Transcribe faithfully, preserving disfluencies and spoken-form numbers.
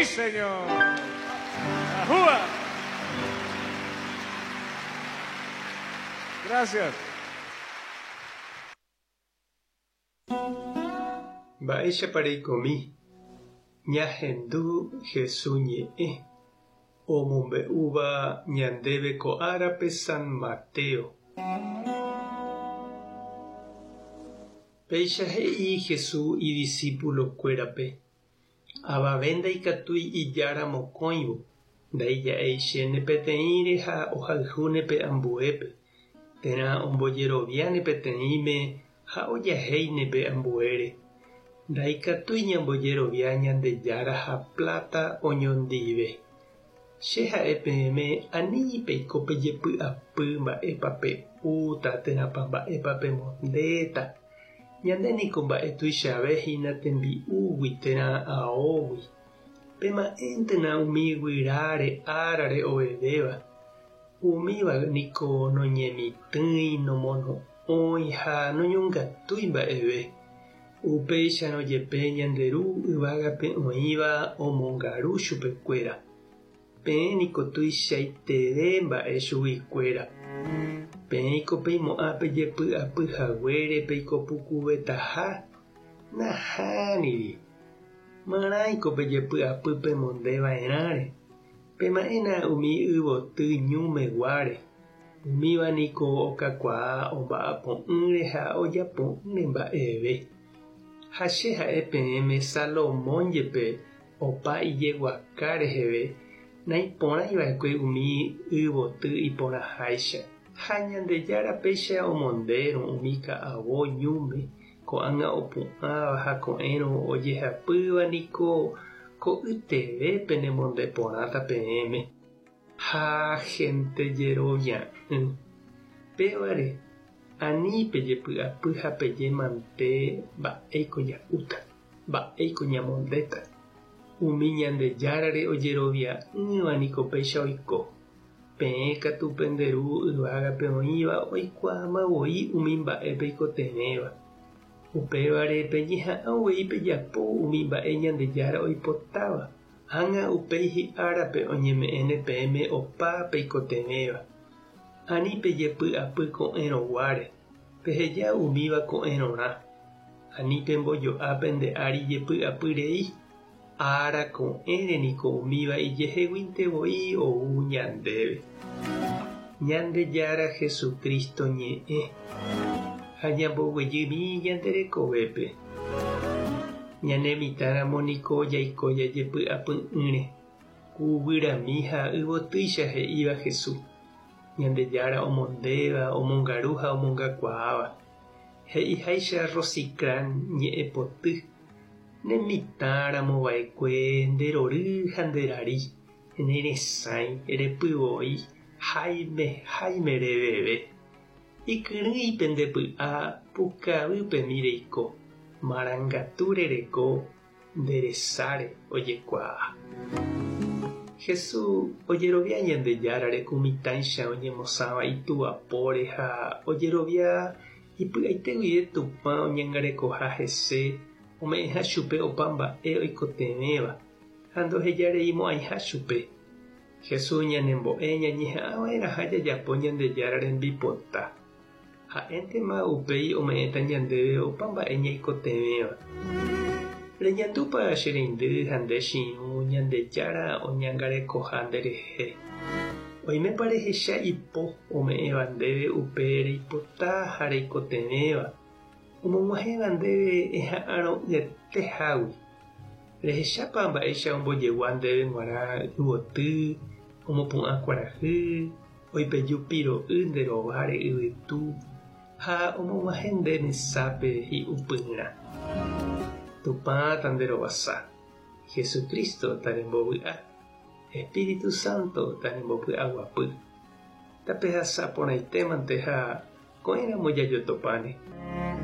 señor. ¡Ajúa! Gracias. Mba'éichapa reikomi ñahendu Jesús ñe'ẽ omombe'úva ñandéve ko árape San Mateo. Péicha he'i Jesús idiscípulokuérape avave ndaikatúi ijára mokõivo ndaija'eichéne peteĩre ha ohayhúne ambuépe térã ombojeroviáne peteĩme ha ojahéine ambuére. Ndaikatúi ñambojerovia Ñandejára ha plata oñondive. Che ha'e peẽme ani peiko pejepy'apy mba'épa pe'úta térãpa mba'épa pemondéta. Ñande niko mba'e tuichave hína tembi'úgui térã aógui. Pema'ẽntena umi guyráre árare ovevéva. Umíva niko noñemitỹi, nomono'õi ha noñongatúi mba'eve. Upéicharõ jepe ñande ru yvágape oĩva omongaru chupekuéra. Peẽ niko tuichaiteve mba'e chuguikuéra. Peẽiko peimo'ã pejepy'apyhaguére peikopukuvetaha nahániri. Marãiko pejepy'apy pemondeva'erãre. Pema'ẽna umi yvoty ñumeguáre. Umíva niko okakuaa omba'apo'ỹre ha ojapo'ỹre mba'eve. Ha che ha'e peẽme Salomón jepe opa ijeguaka reheve naiporãiva'ekue umi yvoty iporãháicha. Ha Ñandejára péicha omondérõ umi ka'avo ñúme ko'ág̃a opu'ãva ha ko'ẽrõ ojehapýva niko ko'yteve penemondeporãta peẽme. Ha gente jerovia'ỹ. Pévare ani pejepy'apy ha pejemante mba'éiko ja'úta, mba'éiko ñamondéta. Umi Ñandejárare ojerovia'ỹva niko péicha oiko. Peẽ katu pende ru yvágape oĩva oikuaamavoi umi mba'e peikotevẽva. Upévare peñeha'ã uvei pejapo umi mba'e Ñandejára oipotáva. Ág̃a upéi hi'árape oñeme'ẽne peẽme opa peikotevẽva. Ani pejepy'apy ko'ẽrõguáre, peheja umíva ko'ẽrõrã. Ani pembojo'a pende ári jepy'apy rei. Ára ko'ẽre niko umíva ijeheguíntevoi ou ñandéve. Ñandejára Jesucristo ñe'ẽ ha ñamboguejymi ñande rekovépe. Ñane mitãramo niko jaiko jajepy'apy'ỹre. Ku guyrami ha yvotýicha he'íva Jesús. Ñandejára omondéva, omongaru ha omongakuaáva. He'iháicha Rosicrán ñe'ẽpoty. Ne mitãramova'ekue nderory ha nderari, neresãi, repyvoi, háime háime reveve. Ikyrỹi pendepy'a pukavýpemi reiko, marangatu rereko nderesáre ojekuaa. Jesús ojerovia Ñandejárare ku mitãicha oñemosãva ituapóre ha ojerovia ipy'aite guive Tupã oñangarekoha hese ome'ẽha chupe opa mba'e oikotevẽva ha ndohejareimo'ãiha chupe. Jesús ñanembo'e ñañeha'ãva'erãha jajapo Ñandejára rembipota. Ha'éntema upéi ome'ẽta ñandéve opa mba'e ñaikotevẽva. Reñandúpa che reindy ha nde chi'ũ Ñandejára oñangarekoha nderehe. Oimépa rehecha ipo ome'ẽva ndéve upe reipota ha reikotevẽva. Omog̃uahẽva ndéve eha'arõ'ỹetehágui. Rehechápa mba'éicha ombojegua ndéve g̃uarã yvoty, omopu'ã kuarahy, oipeju piro'y nde rováre yvytu ha omog̃uahẽ nde mesápe hi'upyrã. Tupã tanderovasa. Jesucristo tarembovy'a. Espíritu Santo tarembopy'aguapy. Tapehasa porãitémante ha ko'ẽramo jajotopáne.